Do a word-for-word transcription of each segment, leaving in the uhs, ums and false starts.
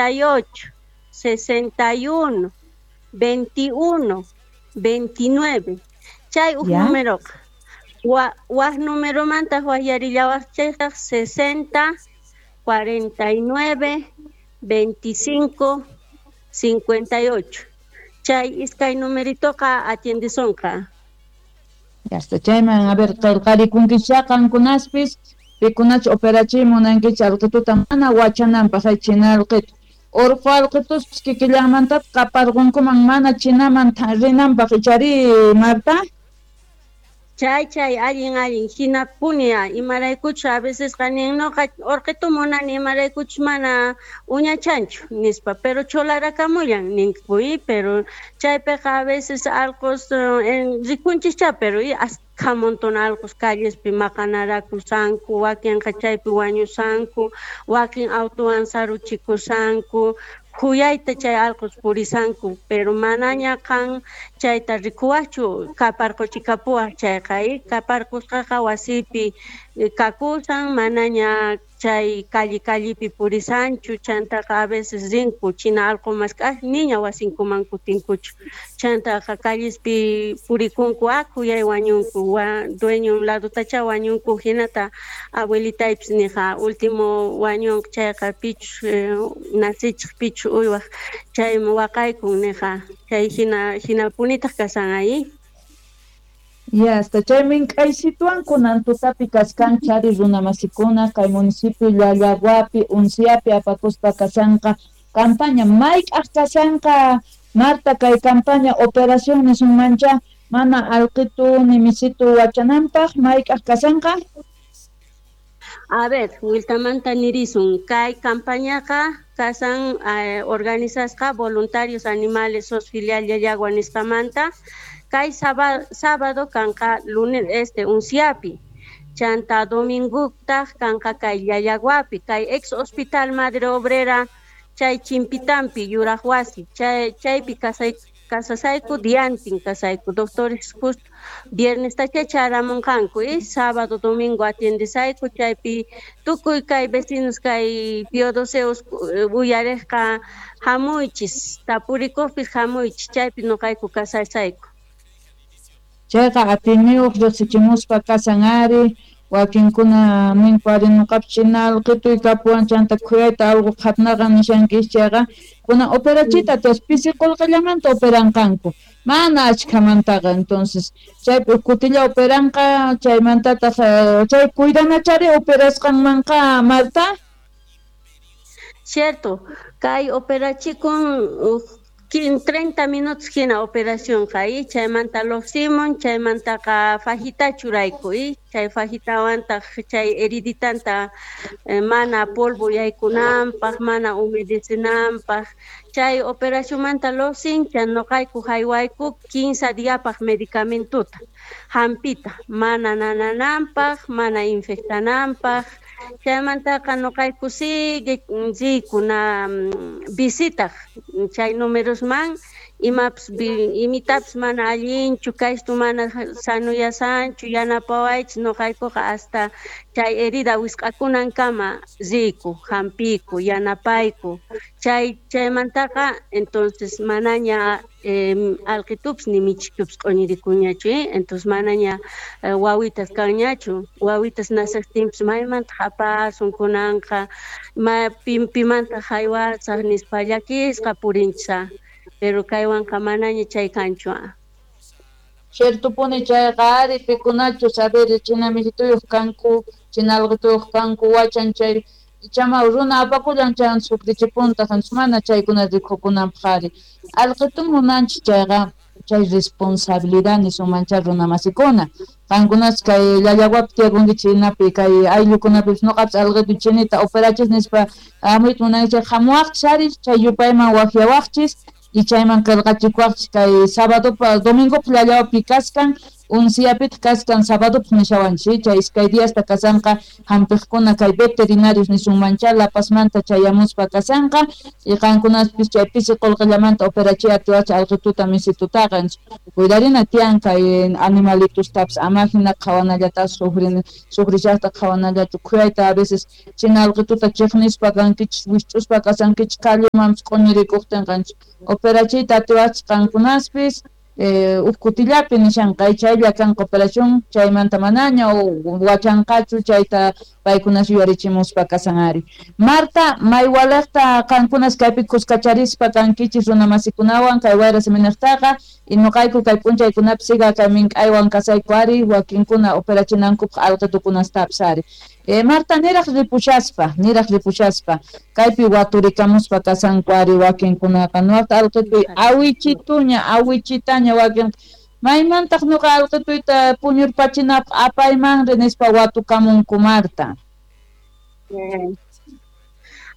treinta y ocho, sesenta y uno, veintiuno, veintinueve. Chay uj numeroqa. Wa, waj numeromanta wajyarillawaqchaytaq sesenta, cuarenta y nueve, veinticinco, cincuenta y ocho. Chay iskay numeritoqa atiendisonqa. Ya está, chayman, a ver, qillqarikunkichá qankunaspis, pikunach operachiy munankichik alqituta mana wachananpaq hay china alqitu. Urqu alqituspis kikillanmantataq qaparqunkuman mana chinaman rinanpaq ichari, Marta? Chay, chay, allin, allin, hinapuni, imaraykuchu a veces nin noqa urqitu munani imaraykuchu mana uñachanchu nispa, pero cholarakamuyan ninku, pero chaypiqa a veces allqus en rikunchikcha, pero y askha montón allqus callespi maqanarakusanku, wakinqa chaypi wañusanku, wakin autuwan saruchikusanku, khuyayta chay allqus purisanku, pero manaña qan chayta rikuwaqchu kaparquchikapuwaq chayqa, kaparqusqaqa wasipi kakusan, manaña chay calle callepi purisanchu, chantaqa a veces rinku china allqu mask'aq niña wasinkuman kutinkuchu, chantaqa callespi purikunku, a khuyay wañunku, wa dueño ladutacha wañunku, hinata abuelitaypis niqa último wañunqa chayqa pichus nacichiq pichu uywaq chaymi waqaykun niqa, chay hina hinapunitaq kasan ahí. Ya hasta chaymin k'aysituwan kunan tutapi kaskan chari runamasikuna kay municipio Llallaguapi Unciapi apakuspa kasanqa campaña mayk'aq kasanqa Marta kay campaña operación nisunmancha mana alqitu ni misitu wachananpaq mayk'aq kasanqa. A ver, wiltamanta nirisun kay campañaqa kasan eh, organizasqa voluntarios animales S O S filial Llallagua nisqamanta. Kay sábado kanqa lunes este Unciapi, chanta domingutaq kanqa kay Llallaguapi, kay ex hospital Madre Obrera chay Chimpitampi yuraq wasi, chay chaypi kasay kasasayku diantin kasayku, doctores justo viernes tacha charamunqanku, y sábado domingo atiendesayku chaypi tukuy kay vecinos kay piodoseos uyariqqa hamuychis, tapurikuqpis hamuychis, chaypi nuqayku kasasayku. Chayqa atiniyuq riqsichimuspa kasan ari, wakinkuna ninku ari nuqapis china alqituy kapuwan chanta khuyayta alqu qhatnaqa nishankis chayqa kunan operachita entonces pisi qullqillamanta operanqanku mana achkhamantaqa, entonces chaypi kutilla operanqa chaymantataq chay cuidanachari operasqanmanqa Marta. Cierto, kay operachikun treinta minutos hina operación y chaymanta lluqsimun, chaymantaqa fajita churayku, y chay fajitawantaq chay heriditanta eh, mana polvo yaykunanpaq, mana humedecenanpaq, chay operacionmanta lluqsin, chay nuqayku haywayku quince diapaq medicamentuta, hampita, mana nanananpaq, mana infectananpaq, chaymantaqa nuqayku sigue riykuna visitaq chay numerosman imapis imitapis mana allinchu kaystu mana sanuyasanchu yanapawaychis nuqaykuqa hasta chay herida wisq'akunankama riyku hampiyku yanapayku chay chaymantaqa entonces manaña eh, alqitupis ni michitupis q'uñirikuñachu, eh? Entonces manaña eh, wawitas kanñachu, wawitas naciqtinpis maymanta apasun kunanqa ma pimanta haywasaq nispa llakisqa purinchis, pero kaywanqa manaña chay kanchu. Ciertupuni chayqa ari pikunachus a ver china misituyuq kanku china alqituyuq kanku wachan chay ichama runa apakullan chan sufrichipuntaq mana chaykuna rikukunanpaq ari alqitun munanchik chayqa chay responsabilidad nisunmancha runamasikuna qankunas kay Llallaguapi tiyakunkichik hinapi kay ayllukunapis nuqapis alqitu chinita operachis nispa hamuyta munankichik hamuwaqchis ari chay yupayman waqyawaqchis y chayman qillqachikuwaqchis kay sábadopa domingopa Llallaguapi kaskan Unsiyapitaq kaskan sabadopaq nishawanchis, chay iskay diasta kasanqa hampiqkuna kay veterinarios nisunmancha La Pazmanta chayamuspa kasanqa y qankunaspis chay pisi qullqillamanta operachiy atiwachis alqituta misitutaqa. Cuidarina tiyan kay animalitustapis, ama hina qhawanallata sufrin sufrishaqta qhawanallachu, khuyayta a veces china alqituta chiqnispa kankichis, wisch'uspa kasankichis callemanpis q'uñirikuqtinqa operachiyta atiwachis qankunaspis eh, huk kutillapi nishanqa chaylla kanqa operación chaymanta manaña wachanqachu chayta paykunas yuyarichimuspa kasan ari. Marta, maywalaqta qankunas kaypi kuskacharispa kankichis runamasikunawan kay wayra siminaqtaqa y nuqayku kay p'unchaykunapi siga kay mink'aywan kasayku ari wakinkuna operachinankupaq alqitukunastapis ari. Eh, Marta, niraq ripushaspa, niraq ripushaspa kaypi waturikamuspa kasanku ari wakinkunaqa nuqta alqituy awichituña awichitaña wakin maymantaq nuqa alqituyta puñurpachinapaq apaymanri nispa watukamunku Marta.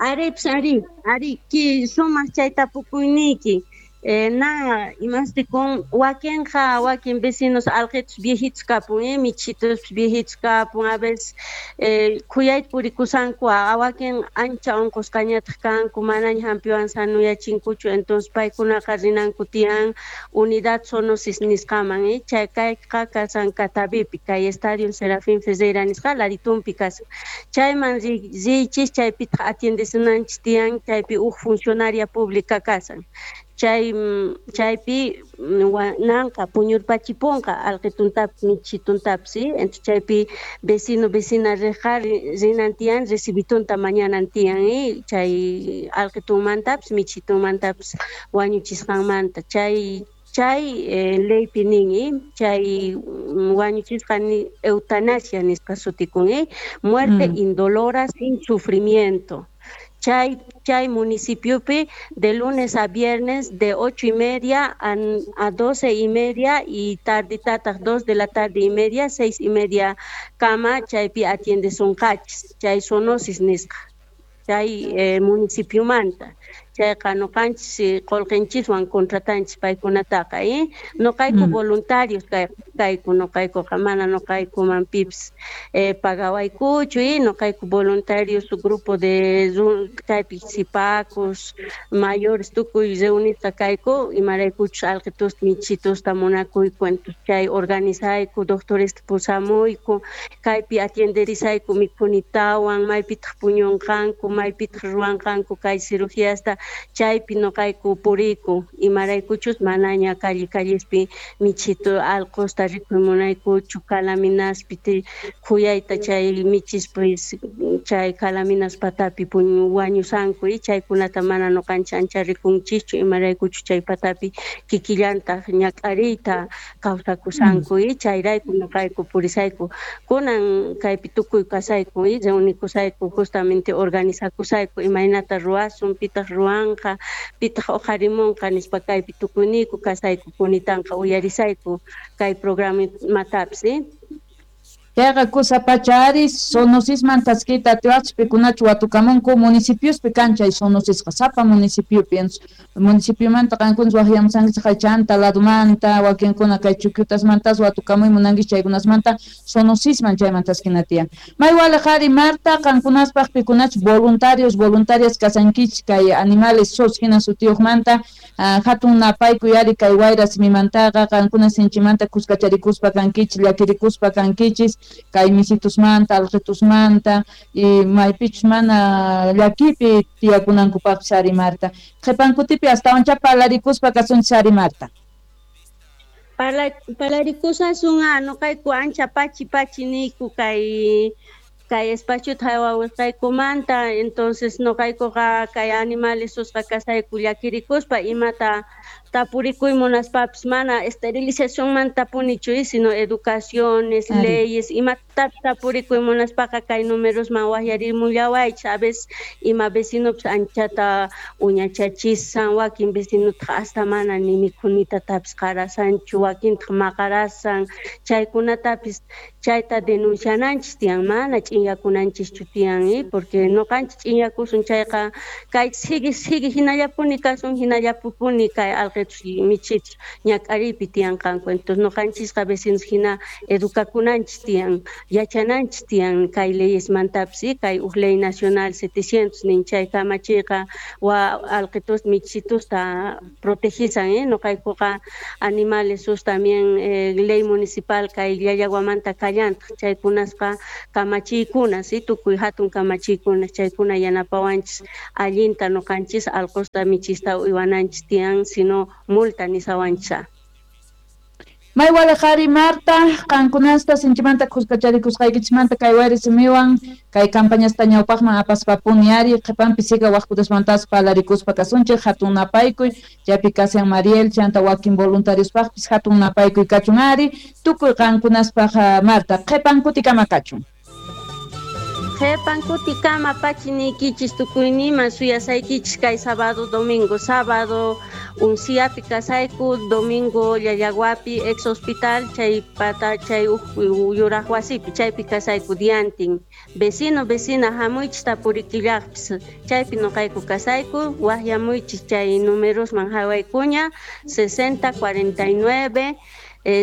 Ari, ari, ari, ki sumaq chay tapukuyniyki. Eh, na imastikun wakinqa wakin vecinos alqitus viejitos kapun, eh, michitos viejitos kapun, a veces eh, khuyayta purikusanku, a wakin ancha unqusqañataq kanku, manaña hampiwan sanuyachinkuchu, entonces paykunaqa rinanku tiyan unidad zoonosis nisqaman, eh, chay kayqa kasan Catavipi, kay Estadio Serafín Ferreira nisqa laditunpi kasan, chayman riychis, chaypitaq atiendesunanchis tiyan, chaypi huk funcionaria pública kasan. Chay chaypi nanqa puñurpachipunqa alqituntapis michituntapis, ¿sí? Entonces chaypi vecino vecina riqa rinan tiyan recibitunta mañanan tiyan, ¿eh? Chay alqitunmantapis michitunmantapis wañuchisqanmanta chay chay eh, leypi nin, ¿eh? Chay wañuchisqa ni eutanasia nisqa sutikun, ¿eh? Muerte mm. indolora sin sufrimiento. Chay, chay municipiopi de lunes a viernes de ocho y media a, a doce y media y tarditataq dos de la tarde y media, seis y media kama chaypi atiendesunqachis, chay zoonosis nisqa, chay eh, municipiomanta. Chayqa nuqanchis qullqinchiswan contratanchis paykunataqa, eh? Nuqayku mm. voluntarios kayku, nuqaykuqa mana nuqaykuman pipis eh, pagawaykuchu, eh? Nuqayku voluntarios grupo de kaypi sipacos mayores tukuy reunisqa kayku, imaraykuchus alqitusta michitusta munakuyku, entonces chay organizayku, doctoresta pusamuyku, kaypi atienderisayku mikhunitawan, maypitaq puñunqanku, maypitaq ruwanqanku kay cirugíasta, chaypi nuqayku puriyku, imaraykuchus manaña calle callespi michitu alqusta rikuy munaykuchu, calaminaspi khuyayta chay michispis chay calaminas patapi wañusanku, y chaykunata mana nuqanchis ancha rikunchischu, imaraykuchus chay patapi kikillantaq ñak'ariyta kawsakusanku, y chayrayku nuqayku purisayku, kunan kaypi tukuy kasayku, y reunikusayku, justamente organizakusayku imaynata ruwasun, pitaq ruwanqa, pitaq uqharimunqa nispa kaypi tukuyniyku kasayku, kunitanqa uyarisayku kay programatapis, eh? Chayqa kusa pacha ari zoonosisman taskiyta atiwaqchis pikunachu watukamunku municipiospi kan chay zoonosisqa sapa municipiopi, municipiomanta qankunas waqyamusankichis kay chanta ladumanta wakinkuna kay chukyutasmantas watukamuy munankichis chaykunasmanta zoonosisman chayman taskina tiyan. Maywaliq ari Marta, qankunaspaq pikunachu voluntarios voluntarias kasankichis kay animales sos hina sutiyuqmanta hatun napaykuy ari kay wayra simimantaqa qankuna sinchimanta kuskacharikuspa kankichis, llakirikuspa kankichis kay misitusmanta, alqitusmanta y maypichus mana llakipi tiyakunankupaqpis ari Marta. Qhipankutipi astawancha parlarikuspa kasunchis ari Marta. Parla, parlarikusasun nuqayku ancha pachi pachi niyku kay kay espaciota haywawasqaykumanta, entonces nuqaykuqa kay animales susqa kasayku llakirikuspa imata tapurikuy munaspapis mana esterilizacionmanta punichu, sino educaciones, Ari. leyes, imatapis tapurikuy munaspaqa kay numerosman waqyarimullawaychis, a veces ima vecinopis anchata uñachachisan, wakin vecinotaq hasta mana ni mikhunitatapis qarasanchu, wakintaq maqarasan, chaykunatapis Chayta denunciananchis tiyan, mana ch'inyakunanchischu tiyan, eh? Porque noqanchis ch'inyakusun chayqa kay sigue sigue hinallapuni kasun, hinallapuni kay alqitus michitus ñak'ariypi tiyanqanku. Entonces noqanchisqa vecinos hina educakunanchis tiyan, yachananchis tiyan kay leyesmantapis, eh? Kay uj ley nacional setecientos nin chay kamachiyqa wa alqitus michitusta protegisan, eh? Noqaykuqa animales sus también eh, ley municipal kay Llallaguamanta kallantaq chaykunasqa kamachiykuna, si tukuy hatun kamachiykuna chaykuna yanapawanchis allinta noqanchis alqusta michista uywananchis tiyan, sino multa nisawanchis. May walejari Marta, qankunasta sinchimanta khuskacharikusqaykichismanta kay wayri simiwan kay campañasta ñawpaqman apaspapuni ari qhipanpi siga waqkutasmantas palarikuspa kasunchik hatun napaykuy chaypi kasian Mariel chanta wakin voluntariospaqpis hatun napaykuy kachun ari tukuy qankunaspaq Marta qhipan kutikama kachun. Qhipan kutikama pachiniykichis tukuyniman suyasaykichis kay sábado domingo, sábado Unciapi kasayku, domingo Llallaguapi ex hospital chay pata chay yuraq wasipi chaypi kasayku diantin. Vecino vecina hamuychis tapurikillaqpis chaypi noqayku kasayku waqyamuychis chay numerosman hawaykuña sesenta cuarenta y nueve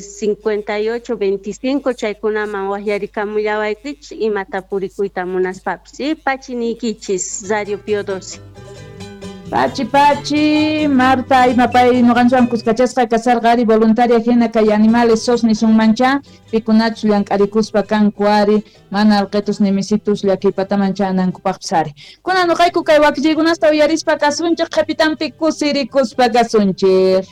cincuenta y ocho veinticinco chaykunaman waqyarikamullawaykichis ima tapurikuyta munaspapis. Y pachiniykichis Radio Pío doce. Pachi pachi Marta imapay noqanchwan kuskachasqa kasarqa ari voluntaria hina kay animales sos nisunmancha pikunachus llank'arikuspa kanku ari mana alqitus ni misitus llakiypataman chanankupaqpis ari. Kunan noqayku kay wakichiykunasta uyarispa kasunchik qhipitanpi kusirikuspa kasunchik.